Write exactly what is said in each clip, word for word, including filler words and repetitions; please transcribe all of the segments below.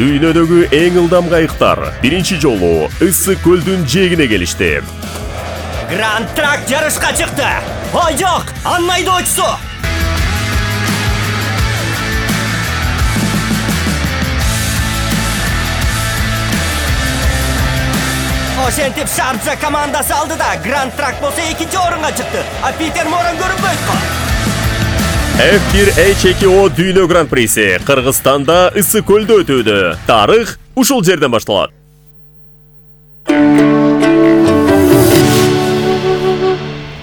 Дүйнөдөгү эң ылдам кайыктар биринчи жолу Ысык көлдүн жээгине келишти. Гранд Трак жарышка чыкты. Ой жок, анын айдоочусу. Ошентип Шарджа командасы алды да Гранд Трак болсо экинчи орунга чыкты. А Питер Моран көрүнбөйт го. эф бир эйч эки о дүйнө гран-приси Кыргызстанда Ысык көлдө өтүүдө. Тарых ушул жерден башталат.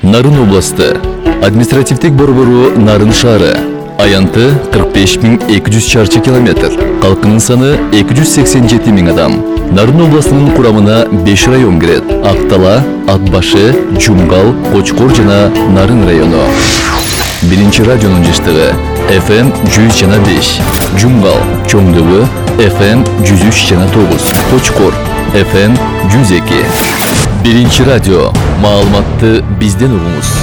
Нарын областы, административдик борбору Нарын шаары. Аянты кырк беш миң эки жүз чарчы километр. Калкынын саны эки жүз сексен жети миң адам. Нарын областынын курамына беш район кирет. Актала, Атбашы, Жумгал, Кочкор жана Нарын району. Биринчи радионун жыштыгы эф эм жүз жана беш. Жумгал, Чоңдөгү эф эм жүз үч жана тогуз. Кочкор эф эм жүз эки. Биринчи радио. Маалыматты бизден угуңуз.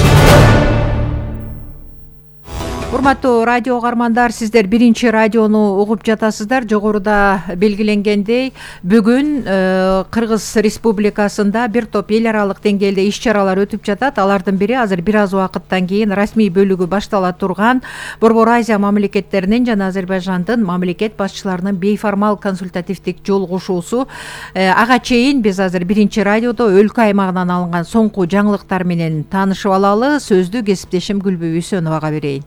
Урматтуу радио угармандар, сиздер биринчи радиону угуп жатасыздар. Жогоруда белгиленгендей, бүгүн Кыргыз Республикасында бир топ эл аралык деңгээлде иш-чаралар өтүп жатат. Алардын бири азыр бир аз убакыттан кийин расмий бөлүгү баштала турган Борбор Азия мамлекеттеринин жана Азербайжандын мамлекет башчыларынын бейформал консультативдик жолугушуусу. Ага чейин биз азыр биринчи радиодо өлкө аймагынан алынган соңку жаңылыктар менен таанышып алалы. Сөздү кесиптешим Гүлбү Үсөновага берейин.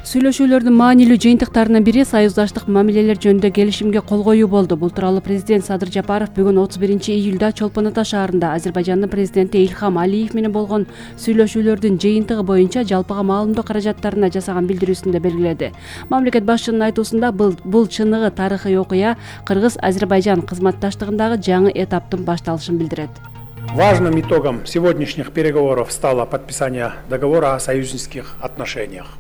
Сүйлөшүүлөрдүн маанилүү жыйынтыктарынын бири союздаштык мамилелер жөнүндө келишимге кол коюу болду. Бул тууралуу президент Садыр Жапаров бүгүн отуз биринчи июлда Чолпон Ата шаарында Азербайжандын президенти Илхам Алиев менен болгон сүйлөшүүлөрдүн жыйынтыгы боюнча жалпыга маалымдоо каражаттарына жасаган билдирүүсүндө белгиледи. Мамлекет башчынын айтуусунда бул бул чыныгы тарыхый окуя Кыргыз-Азербайжан кызматташтыгындагы жаңы этаптын башталышын билдирет. Важным итогом сегодняшних переговоров стало подписание договора о союзнических отношениях.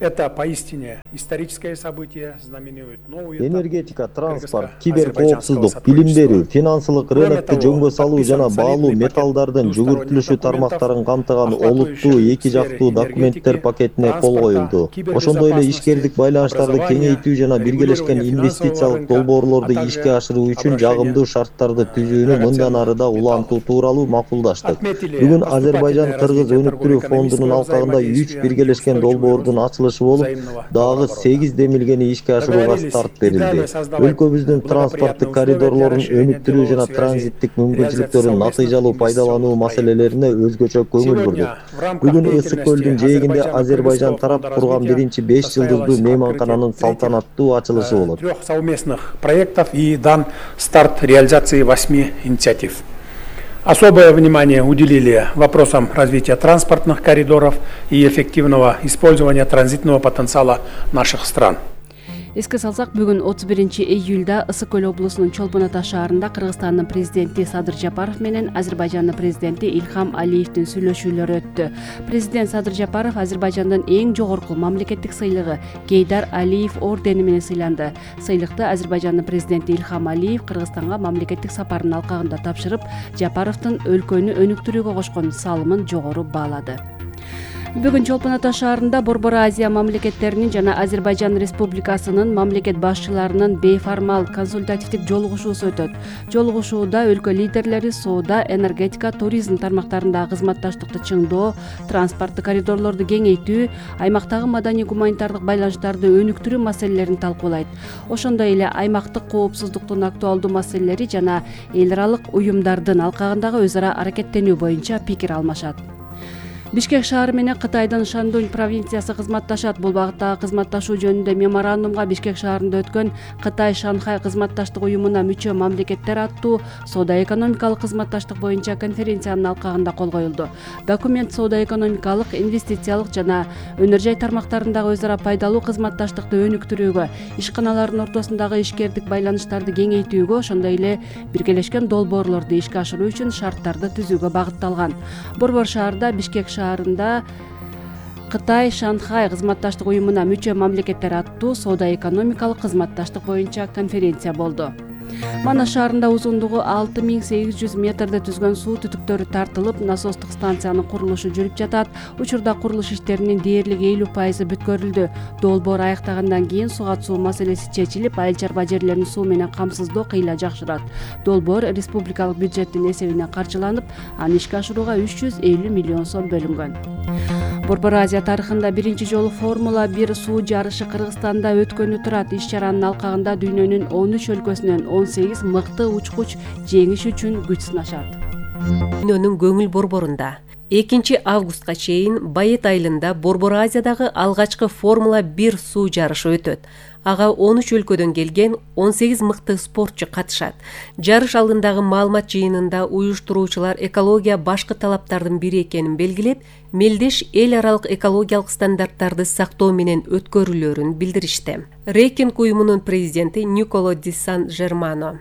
Это поистине историческое событие, знаменует новый этап. Энергетика, транспорт, киберкоопсуздук, билим берүү, финансылык рынокту жөнгө салуу жана баалуу металлдардын жүгүртүлүшү тармактарын камтыган олуттуу эки жактуу документтер пакетине кол коюлду. Ошондой эле ишкердик байланыштарды кеңейтүү жана биргелешкен инвестициялык долбоорлорду ишке ашыруу үчүн жагымдуу шарттарды түзүүнү мындан ары да улантуу тууралуу макулдаштык. Бүгүн Азербайжан Кыргыз өнүктүрүү фондунун алкагында үч биргелешкен долбоордун ачылышы болуп, дагы сегиз демилгени ишке ашырууга старт берилди. Өлкөбүздүн транспорттук коридорлорун өнүктүрүү жана транзиттик мүмкүнчүлүктөрүн натыйжалуу пайдалануу маселелерине өзгөчө көңүл бурдук. Бүгүн Ысык көлдүн жээгинде Азербайжан тарап курган биринчи беш жылдыздуу мейманкананын салтанаттуу ачылышы болот. Трех совместных проектов и дан старт реализации восьми инициатив. Особое внимание уделили вопросам развития транспортных коридоров и эффективного использования транзитного потенциала наших стран. Эске салсак, бүгүн отуз биринчи июлда Ысык көл облусунун Чолпон Ата шаарында Кыргызстандын президенти Садыр Жапаров менен Азербайжандын президенти Илхам Алиевдин сүйлөшүүлөрү өттү. Президент Садыр Жапаров Азербайжандын эң жогорку мамлекеттик сыйлыгы Гейдар Алиев ордени менен сыйланды. Сыйлыкты Азербайжандын президенти Илхам Алиев Кыргызстанга мамлекеттик сапарынын алкагында тапшырып, Жапаровдун өлкөнү өнүктүрүүгө кошкон салымын жогору баалады. Бүгүн Чолпон Ата шаарында Борбор Азия мамлекеттеринин жана Азербайжан Республикасынын мамлекет башчыларынын бейформал консультативдик жолугушуусу өтөт. Жолугушууда өлкө лидерлери соода, энергетика, туризм тармактарындагы кызматташтыкты чыңдоо, транспорттук коридорлорду кеңейтүү, аймактагы маданий-гуманитардык байланыштарды өнүктүрүү маселелерин талкуулайт. Ошондой эле аймактык коопсуздуктун актуалдуу маселелери жана эл аралык уюмдардын алкагындагы өз ара аракеттенүү боюнча пикир алмашат. Бишкек шаары менен Кытайдын Шандунь провинциясы кызматташат. Бул багыттагы кызматташуу жөнүндө меморандумга Бишкек шаарында өткөн Кытай-Шанхай кызматташтык уюмуна мүчө мамлекеттер аттуу соода-экономикалык кызматташтык боюнча конференциянын алкагында кол коюлду. Документ соода-экономикалык, инвестициялык жана өнөр жай тармактарындагы өз ара пайдалуу кызматташтыкты өнүктүрүүгө, ишканалардын ортосундагы ишкердик байланыштарды кеңейтүүгө, ошондой эле биргелешкен долбоорлорду ишке ашыруу үчүн шарттарды түзүүгө багытталган. Борбор шаарда Бишкек шаарында Кытай-Шанхай кызматташтык уюмуна мүчө мамлекеттер аттуу соода-экономикалык кызматташтык боюнча конференция болду. Манас шаарында узундугу алты миң сегиз жүз метрди түзгөн суу түтүктөрү тартылып, насостук станциянын курулушу жүрүп жатат. Учурда курулуш иштеринин дээрлик элүү пайызы бүткөрүлдү. Долбоор аяктагандан кийин суга суу маселеси чечилип, айыл чарба жерлерин суу менен камсыздоо кыйла жакшырат. Долбоор республикалык бюджеттин эсебинен каржыланып, аны ишке ашырууга үч жүз элүү миллион сом бөлүнгөн. Борбор Азия тарыхында биринчи жолу Формула бир суу жарышы Кыргызстанда өткөнү турат. Иш-чаранын алкагында дүйнөнүн он үч өлкөсүнөн он сегиз мыкты учкуч жеңиш үчүн күч сынашат. Дүйнөнүн көңүл борборунда экинчи августка чейин Байет айылында Борбор Азиядагы алгачкы Формула бир суу жарышы өтөт. Ага он үч өлкөдөн келген он сегиз мыкты спортчу катышат. Жарыш алдындагы маалымат жыйынында уюштуруучулар экология башкы талаптардын бири экенин белгилеп, мелдеш эл аралык экологиялык стандарттарды сактоо менен өткөрүлөрүн билдиришти. Рейкинг уюмунун президенти Николо Ди Сан Жермано.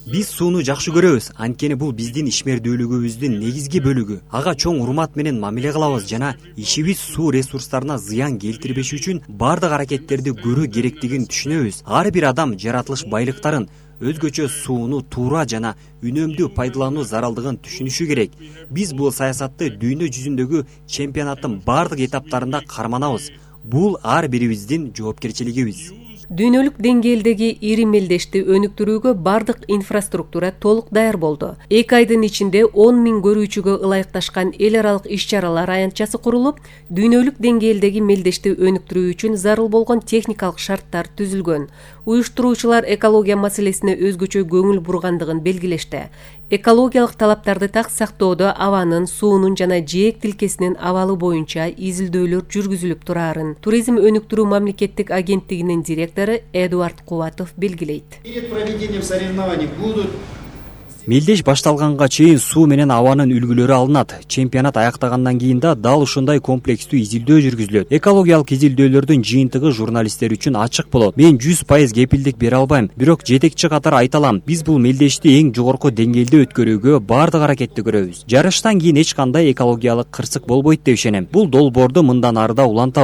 Биз сууну жакшы көрөбүз, анткени бул биздин ишмердүүлүгүбүздүн негизги бөлүгү. Ага чоң урмат менен мамиле кылабыз жана ишибиз суу ресурстарына зыян келтирбеш үчүн бардык аракеттерди көрүү керектигин түшүнөбүз. Ар бир адам жаратылыш байлыктарын, өзгөчө сууну туура жана үнөмдүү пайдалануу заралдыгын түшүнүшү керек. Биз бул саясатты дүйнө жүзүндөгү чемпионаттын бардык этаптарында карманабыз. Бул ар бирибиздин жоопкерчилигибиз. Дүйнөлүк деңгээлдеги ири мелдешти өнүктүрүүгө бардык инфраструктура толук даяр болду. Эки айдын ичинде он миң көрүүчүгө ылайыкташкан эл аралык иш-чаралар аянтчасы курулуп, дүйнөлүк деңгээлдеги мелдешти өнүктүрүү үчүн зарыл болгон техникалык шарттар түзүлгөн. Уюштуруучулар экология маселесине өзгөчө көңүл бургандыгын белгилешти. Экологиялык талаптарды так сактоодо абанын, суунун жана жээк тилкесинин абалы боюнча изилдөөлөр жүргүзүлүп турарын Туризм өнүктүрүү мамлекеттик агенттигинин директору Эдуард Кубатов белгилейт. Перед проведением соревнований будут Мелдеш башталганга чейин суу менен абанын үлгүлөрү алынат. Чемпионат аяктагандан кийин да дал ушундай комплекстүү изилдөө жүргүзүлөт. Экологиялык изилдөөлөрдүн жыйынтыгы журналисттер үчүн ачык болот. Мен жүз пайыз кепилдик бере албайм, бирок жетекчи катары айта алам. Биз бул мелдешти эң жогорку деңгээлде өткөрүүгө бардык аракетти көрөбүз. Жарыштан кийин эч кандай экологиялык кырсык болбойт деп ишенем. Бул долбоорду мындан ары да улантабыз.